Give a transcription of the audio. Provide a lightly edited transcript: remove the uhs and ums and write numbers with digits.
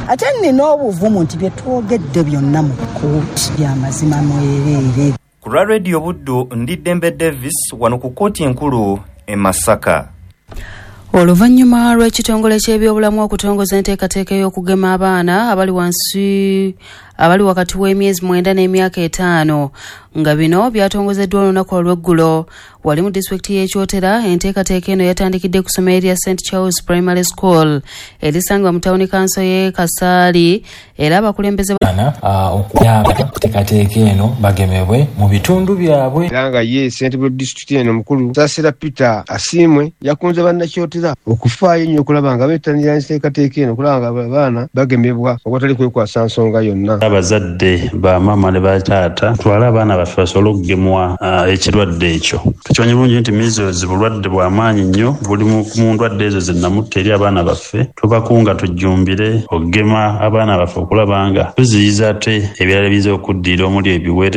Ate nnina obuvumu nti bye twogedde byonna mu kkooti bya mazima mwereere. Ku lwa Radio Buddu ndi Dembe Davis wano ku kkooti enkulu e Masaka. Oluvannyuma lw'ekitongole ky'ebyobulamu okutongoza enteekateeka ey'okugema abaana abali wansi abali wakati w'emyezi mwenda n'emyaka etaano nga bino byatongozeddwa olunaku olw'eggulo wali mu disitulikiti y'e Kyotera. Enteekateeka eno yatandikidde ku ssomero erya St Charles Primary School erisangibwa mu tawuni kanso y'e Kasaali era abakulembeze Abaana okuyamba kuteekateeka eno bagemebwe mu bitundu byabwe. Era nga ye ssentebe wa disitulikiti eno omukulu Saasira Peter Asiimwe yakunze bannakyotera okufaayo ennyo okulaba nga bettanira enteekateeka eno okulaba nga abaana bagemebwa awatali kwekwasa nsonga yonna. Abazadde ba maama ne ba taata tutwale abaana baffe basobole okugemwa ekirwadde ekyo. Tukimanyi bulungi nti measles bulwadde bwa maanyi nnyo, buli mu ndwadde ezo zinamutta eri abaana baffe. Tubakunga tujjumbire okugema abaana baffe okulaba nga tuziyiza ate ebirala ebiyinza okuddirira omuli ebiwere.